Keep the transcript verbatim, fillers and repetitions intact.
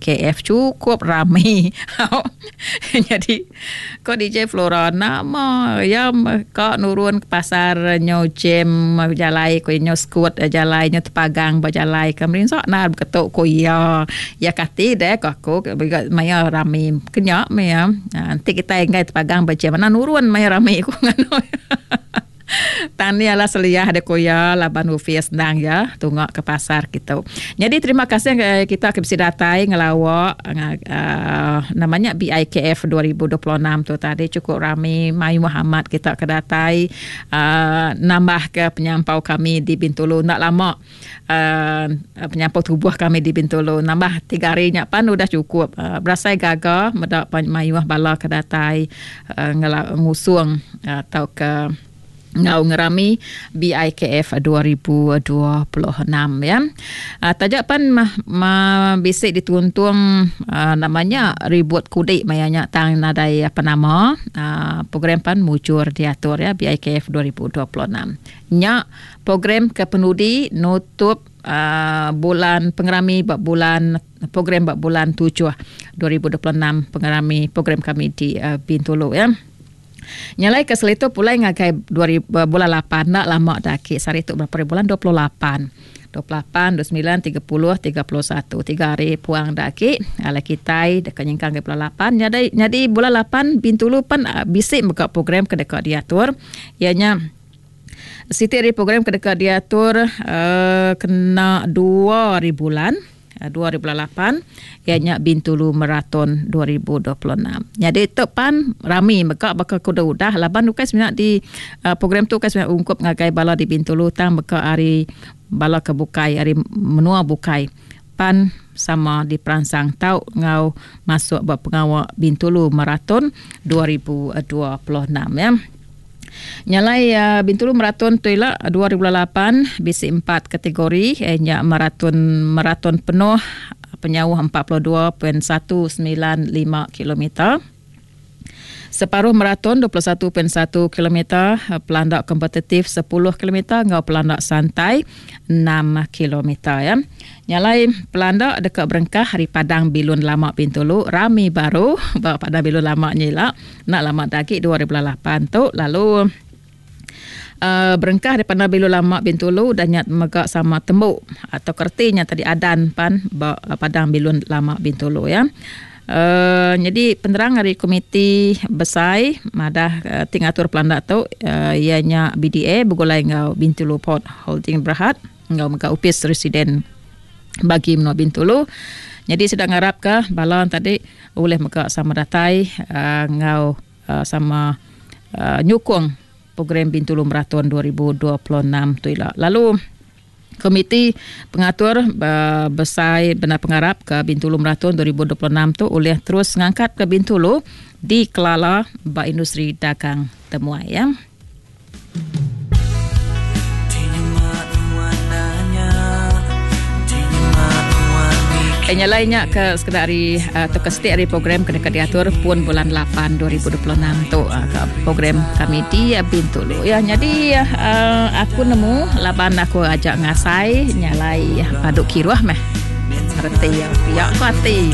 K F cukup rami. Jadi ko D J Flora nama ya ka nurun ke pasar nyo jam jalai ko nyo skut jalai nyo tepagang berjalai ke merinsak nar beketuk ko ya. Ya kati deh ko aku maya rami kenyak maya. Nanti kita enggai tepagang berjam mana nurun maya rami ko ngano. Tani ala seliah de koya laban ofis nang ya tungak ke pasar kita. Jadi terima kasih kita ke bisi datai ngelawak uh, namanya B I K F dua ribu dua puluh enam tu tadi cukup rami Mayu Muhammad kita ke datai uh, nambah ke penyampau kami di Bintulu nak lama uh, penyampau tubuh kami di Bintulu nambah tiga hari nya pan udah cukup uh, berasai gaga medak mayuh bala ke datai uh, ngusung atau uh, ke ngau ngerami B I K F dua ribu dua puluh enam ya. Uh, tajak pan ma, ma bisik dituntung uh, namanya ribut kudik mayanya tang nadai apa nama uh, program pan mujur diatur ya B I K F dua ribu dua puluh enam. Nya program ke penudi nutup uh, bulan pengerami bab bulan program bab bulan tujuh dua ribu dua puluh enam pengerami program kami di uh, Bintulu ya. Nyalai ke selitu pulai ngagai dua ribu, bulan lapan nak lama dah ki sehari tu berapa bulan dua puluh lapan dua puluh lapan, dua puluh sembilan, tiga puluh, tiga puluh satu tiga hari puang dah ki ala kitai dekat nyengkang ke bulan lapan jadi jadi bulan lapan Bintulu pan bisik buka program ke dekat diatur ianya siti hari program ke dekat diatur uh, kena dua hari bulan dua ribu lapan ianya Bintulu Marathon dua ribu dua puluh enam. Jadi tu pan rami meka baka kuda udah laban bukan sebenarnya di uh, program tu kan sebenarnya ungkup ngagai bala di Bintulu tang meka hari bala ke bukai hari menua bukai pan sama di peransang tau ngau masuk buat pengawak Bintulu Marathon dua ribu dua puluh enam ya. Nyalai uh, Bintulu Marathon tu ila dua ribu lapan bisi empat kategori eh, nya maraton maraton penuh penyauh empat puluh dua perpuluhan satu sembilan lima kilometer. Separuh maraton dua puluh satu perpuluhan satu kilometer, pelandak kompetitif sepuluh kilometer ngau pelandak santai enam kilometer ya. Nyalai pelandak dekat berengkah hari Padang Bilun Lama Bintulu rami baru ba Padang Bilun Lama nyila nak lama dagi dua ribu lapan tu lalu Uh, berengkah daripada Bilun Lama Bintulu dan nyat megak sama tembuk atau kertinya tadi adan pan ba Padang Bilun Lama Bintulu ya. Uh, jadi penerang hari komiti besai madah uh, tingatur pelandak tu uh, ianya B D A bergulai ngau Bintulu Port Holding Berhad ngau megak upis residen bagi menua Bintulu. Jadi sedang harap ke bala tadi boleh megak sama datai uh, ngau uh, sama uh, nyukung program Bintulu Marathon dua ribu dua puluh enam tu ila. Lalu Komiti Pengatur uh, Besai Benar Pengarap ke Bintulu Marathon dua ribu dua puluh enam tu oleh terus ngangkat ke Bintulu di Kelala ba industri dagang temuai ya. Nya lainnya ke sekedar hari atau ke setiap hari program kena diatur pun bulan lapan dua ribu dua puluh enam tu ke program kami di Bintulu ya. Jadi uh, aku nemu laban aku ajak ngasai nyalai paduk kiruah meh reti ya pihak hati.